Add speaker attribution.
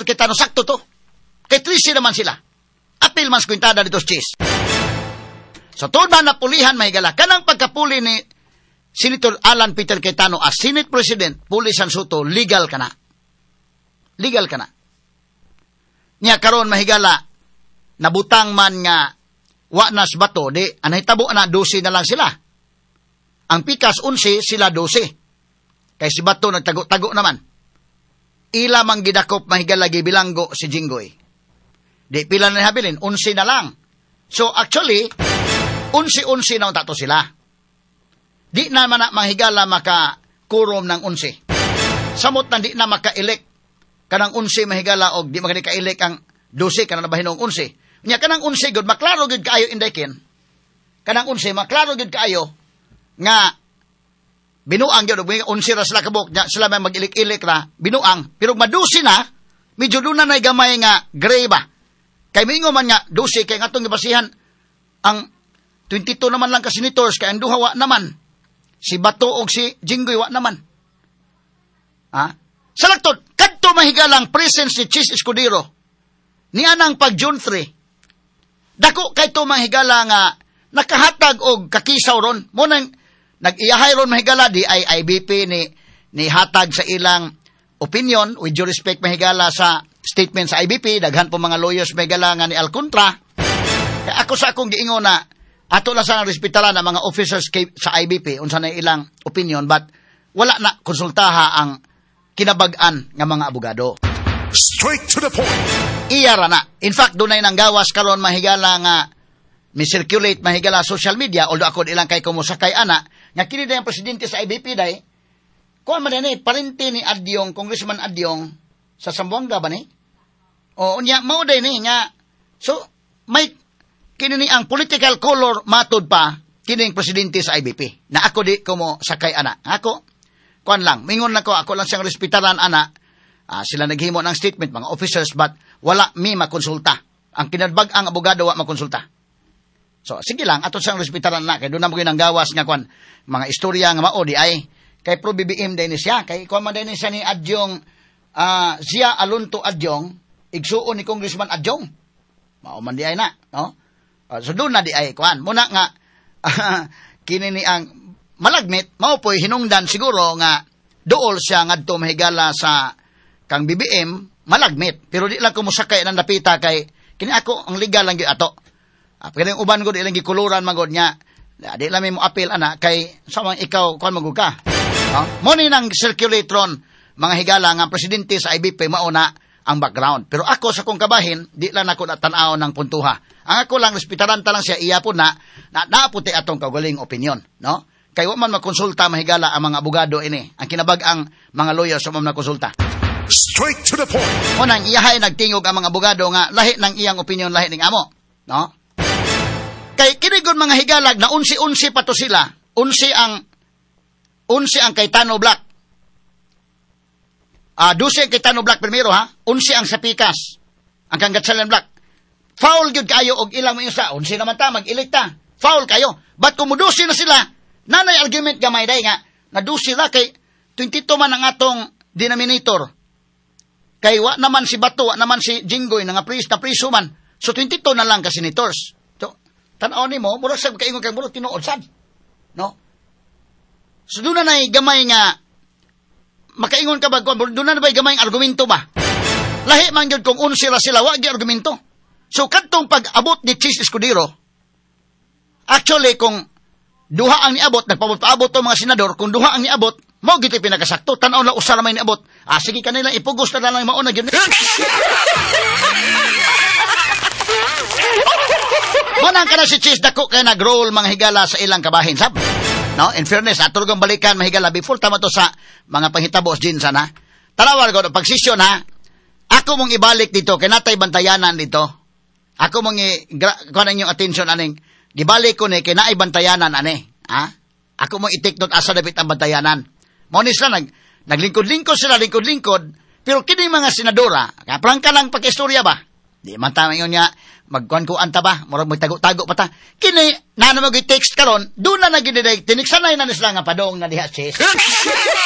Speaker 1: Cayetano, sakto to. Kay 13 naman sila. Apil man sa kwintada dito sa Chiz. So tuod man napulihan, mahigala, kanang pagkapuli ni Senator Alan Peter Cayetano as Senate President, puli sa Sotto, legal ka na. Legal ka na. Nya karon, mahigala, nabutang man nga wa na si Bato, di ang nahitabo na 12 na lang sila. Ang pikas 11, sila 12. Kay si Bato nagtago-tago naman. Ila mang gidakop, mahigala, gibilanggo si Jinggoy. Di pila na habilin, 11 na lang. So actually, 11-11 na unta to sila. Di na man na manghigala maka quorum ng 11. Samot na di na maka-elect kanang 11, mahigala, og di magani ka-elect ang 12 kanang nabahin og 11. Nya kanang 11 gud maklaro gud kaayo indaykin. Kanang 11 maklaro gud kaayo nga binuang gyud og 11 ra sila kabuk nya sila may mag-ilik-ilik ra binuang, pero madusi na medyo doon na nay gamay nga gray ba. Kay mingo man nga 12 kay ngatong gibasihan ang 22 naman lang ka senators kay ang duha wa naman. Si Bato og si Jinggoy wa naman. Ha? Sa laktod, kadto, mahigalang, presence ni Chiz Escudero ni anang pag June 3. Dako kay to, mahigala, nga nakahatag og kakisaw ron. Mo nang nag-iyahay ron, mahigala, di ay IBP ni hatag sa ilang opinion. With due respect, mahigala, sa statement sa IBP, daghan po mga lawyers, mahigala, nga ni Alcontra. Kaya ako sa akong giingon na ato lang sa respetaran ang mga officers kay, sa IBP, unsa na ilang opinion, but wala na konsultaha ang kinabag-an nga mga abogado.
Speaker 2: Straight to the point.
Speaker 1: Iya ra na. In fact, dunay nang gawas karon, mahigala, nga mi-circulate, mahigala, social media, although ako ilang kay kumusakay ana, nga kini day ang presidente sa IBP day, kuan man ni parente ni Adyong, Congressman Adyong sa Zamboanga ba ni? O unya mao day ni nga so may kini ni ang political color matud pa kining presidente sa IBP. Na ako di ko mo sakay ana. Ako kuan lang, mingon lang ko, ako lang siyang respetaran ana. Ah, sila naghimo ng statement mga officers, but wala mi makonsulta. Ang kinabag ang abogado wa makonsulta. So sige lang, ato siyang respetaran na kay doon na mo ang gawas nga kuan mga istorya nga mao di ay kay pro BBM din ni siya, kay kuan man din ni siya ni Adyong, Zia Alonto Adyong, igsuon ni Congressman Adyong. Mao man di ay na, no? So doon na di ay kuan. Muna nga kini ni ang malagmit mao po'y hinungdan siguro nga dool siya ngadto, mahigala, sa kang BBM malagmit, pero di lang ko mosakay ng dapita kay kini ako ang legal lang gyud ato. Pero yung uban gud ilang gikuluran magod nga di lang mo appeal ana kay sa mga ikaw kuan magud ka. No? Mo ni nang circulatron mga higala nga presidente sa IBP mao na ang background. Pero ako sa kong kabahin, di lang ako natanaw ng puntuha. Ang ako lang, respetaran ta lang siya, iya po na, na naaputi atong kaugaling opinion. No? Kay wa man makonsulta, mahigala, ang mga abogado ini. Ang kinabag-ang mga lawyers wa man makonsulta.
Speaker 2: Straight to the point.
Speaker 1: Unang iyahay nagtingog ang mga abogado nga lahi ng iyang opinion, lahi ning amo. No? Kay kinigon mga higalag na 11-11 pa to sila. 11 ang Cayetano Bloc. 12 ang Cayetano Bloc primero ha. 11 ang sa Pikas. Ang kang Gatchalian Bloc. Foul gyud kayo og ilang mo sa 11 naman ta mag-elect ta. Foul kayo. But kung mudusi na sila, nanay argument gamay day nga na 12 ra kay 22 man ang atong denominator. Kay wa naman si Bato, wa naman si Jinggoy nga pris na priso man. So 22 na lang ka senators. So tan-aw nimo, murag sa kaingon kay murag tinuod sad. No? So doon na nay gamay nga makaingon ka ba, doon na ba gamay ang argumento ba? Lahi man gyud kung 11 ra sila, wa gyud argumento. So kadtong pag-abot ni Chiz Escudero, actually kung duha ang niabot, nagpaabot-paabot to mga senador, kung duha ang niabot, mao gyud pinakasakto. Tan-aw na usa ra may niabot. Ah, sige kanila ipugos na lang mao na gyud. Mo nang kana si Chiz dako kay nag-roll mga higala sa ilang kabahin sab. No, in fairness, ato kong balikan, mahigala, before tama to sa mga panghitabo din sana. Tanawar ko pag session ha. Ako mong ibalik dito kay natay bantayanan dito. Ako mong i kuan inyong attention aning gibalik ko ni kay naay bantayanan ani, ha? Ako mong i-take note asa dapit ang bantayanan. Mao ni sila naglingkod-lingkod sila, lingkod-lingkod, pero kini mga senadora, prangka lang pakistorya ba? Di man ta ingon nga magkuan-kuan ta ba, murag magtago-tago pa ta. Kini na na mag text karon, doon na naginiday, tiniksanay na ni sila nga padong na diha sis.